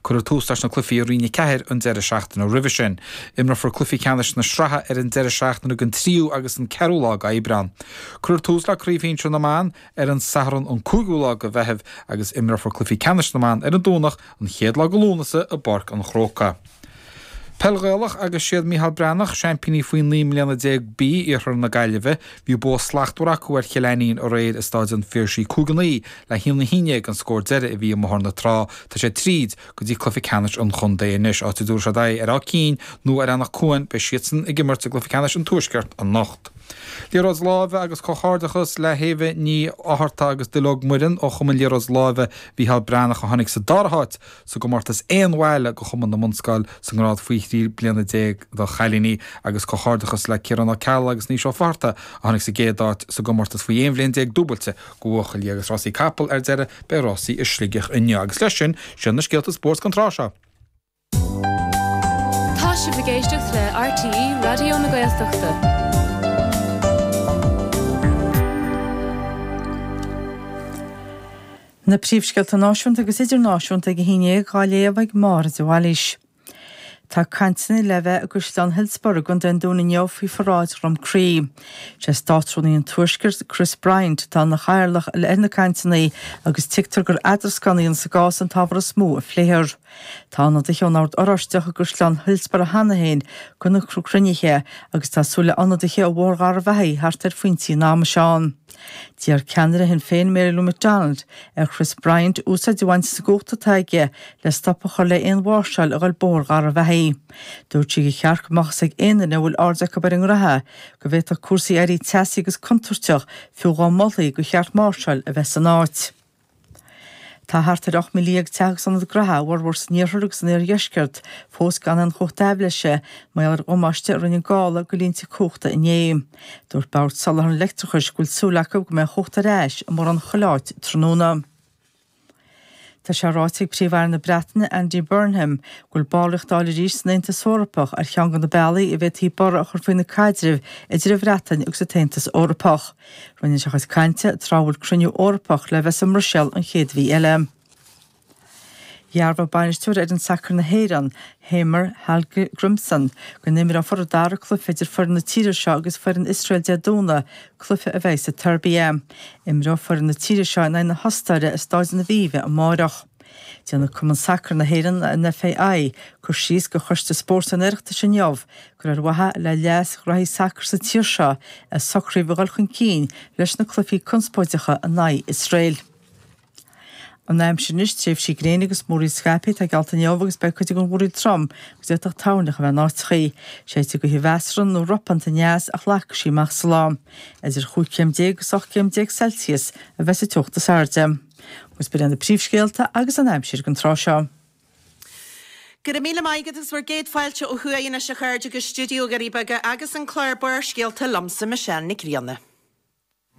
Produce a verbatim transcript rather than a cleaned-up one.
Cuireadh tús leis na cluichí i Roinn a ceathair an deireadh seachtaine roimhe sin. Imreofar cluichí ceannais na sraithe ar an deireadh seachtaine den tríú agus an ceathrú lá d'Aibreán. Cuireadh tús le Craobh Shinsir na mBan ar an Satharn an cúigiú lá de Mheitheamh agus imreofar cluichí ceannais na mban ar an Domhnach an chéad lá de Lúnasa i bPáirc an Chrócaigh. Peil Ghaelach agus siad Micheál Breathnach, seaimpíní faoi naoi mbliana déag B, Iarthar na Gaillimhe. Bhí bua slachtmhar acu ar Chill Ainnín aréir i Staid an Phiarsaigh cúig a naoi le haon a haon déag an scór deiridh a bhí i mBóthar na Trá. Tá sé tríd go dtí cluiche ceannais an chontae anois, áit a dtabharfaidh siad aghaidh ar Áth Cinn nó ar Anach Cuain, beidh siadsan ag imirt i gcluiche ceannais an Tuaiscirt anocht. Liathróid láimhe agus comhghairdeachas le hÉabha Ní Fhátharta agus Duilleog Muireann ó Chumann Liathróid Láimhe Mhícheál Breathnach a tháinig sa dara háit sa gcomórtas aon bhaile do Chumann na mBunscol sa ngrád faoi thrí bliana déag do chailíní agus comhghairdeachas le Ciarán Ó Ceallaigh agus Naoise Ó Fátharta a tháinig sa gcéad áit sa gcomórtas faoi aon bhliain déag dúbailte do bhuachaillí agus rásaí capall ar deireadh beidh rásaí i Sligeach inniu agus leis sin sin na scéalta spóirt don tráth seo. Tá sibh ag éisteacht le RTÉ Raidió na Gaeltachta. Na príomhscéalta náisiúnta agus idirnáisiúnta ag a haon déag á léamh ag Máire de Bhailís. Tá cainteanna le bheith i gCaisleán Hillsborough i gContae an Dúin inniu faoi pharáid Dhroim Crí. Sé Státrúnaí an Tuaiscirt, Chris Bryant, atá ina chathaoirleach ar na cainteanna agus tuigtear gur eadrascán a dhéanamh sa gcás an t-ábhar is mó a phléifear. Tá ionadaithe ón Ord Oráisteach i gCaisleán Hillsborough cheana féin do na cruinnithe agus tá súil le ionadaithe ó Bhóthar Gharbhachaidh theacht ar phointí an ama seo ann. D'iarr ceannaire Shinn Féin Mary Lou McDonald ar Chris Bryant úsáid a bhaint as an gcumhacht atá aige le stop a chur le aon mháirseáil a ghoil Bóthar Gharbhachaidh. Dúirt sí gur cheart go mbeadh fhios ag aon duine a bhfuil aird acu ar an ngraithe go bhféadfadh cúrsaí éirí teasaí agus contúirteach fiú dhá molfaí gur cheart máirseáil a bheith san áit. Tá thart ar ocht míle dhéag teach agus ionad graithe, a bhformhór san iarthar agus san iardheisceart, fós gan aon chumhacht aibhléise mar gheall ar dhamáiste a rinne an gála do línte cumhachta inné. Dúirt Bord Soláthair an Leictreachais go bhfuil súil acu go mbeidh an chumhacht ar ais i mórán chuile áit tráthnóna. Tá sé ráite ag Príomh-Aire na Breataine, Andy Burnham, go bhfuil ballraíocht a fháil arís san Aontas Eorpach ar cheann de na bealaí a bhféadfaí borradh a chur faoi na caidrimh idir an Bhreatain agus an tAontas Eorpach. Rinne sé a chuid cainte tráth a bhfuil cruinniú Eorpach le bheith sa mBruiséil an chéad mhí eile. Dhearbhaigh bainisteoir fhoireann sacair na hÉireann, Heimir Hallgrímsson, go n-imreofar an dara cluiche idir foireann na tíre seo agus foireann Iosrael Dé Domhnaigh, cluiche a bheidh sa tSeirbia. Imreoidh foireann na tíre seo in aghaidh na hOstaire i Staid an Aviva amárach. Déanfaidh Cumann Sacair na hÉireann, an FAI, cur síos do Choiste Spóirt an Oireachtais inniu gur ar mhaithe le leas ghraithí sacair sa tír seo a socraíodh a dhul chun cinn leis na cluichí conspóideacha in aghaidh Iosrael. An aimsir anois, tréimhsí gréine agus múraíl scaipthe atá geallta inniu agus beidh cuid den mhúraíl trom agus d'fhéadfadh toirneach a bheith in áiteachaí. Séidfidh gaoth mheasartha nó ropánta aneas ach lagfaidh sí amach sa lá. Idir chúig chéim déag agus ocht gcéim déag Celsius a bheas an teocht is airde. Agus b'in iad na príomhscéalta agus an aimsir don tráth seo. Go raibh míle maith agat agus bhur gcéad fáilte ó thuaidh anois a chairde go stiúideo Dhoirí Beaga agus an clár Barrscéalta liomsa Michelle Nic Grianna.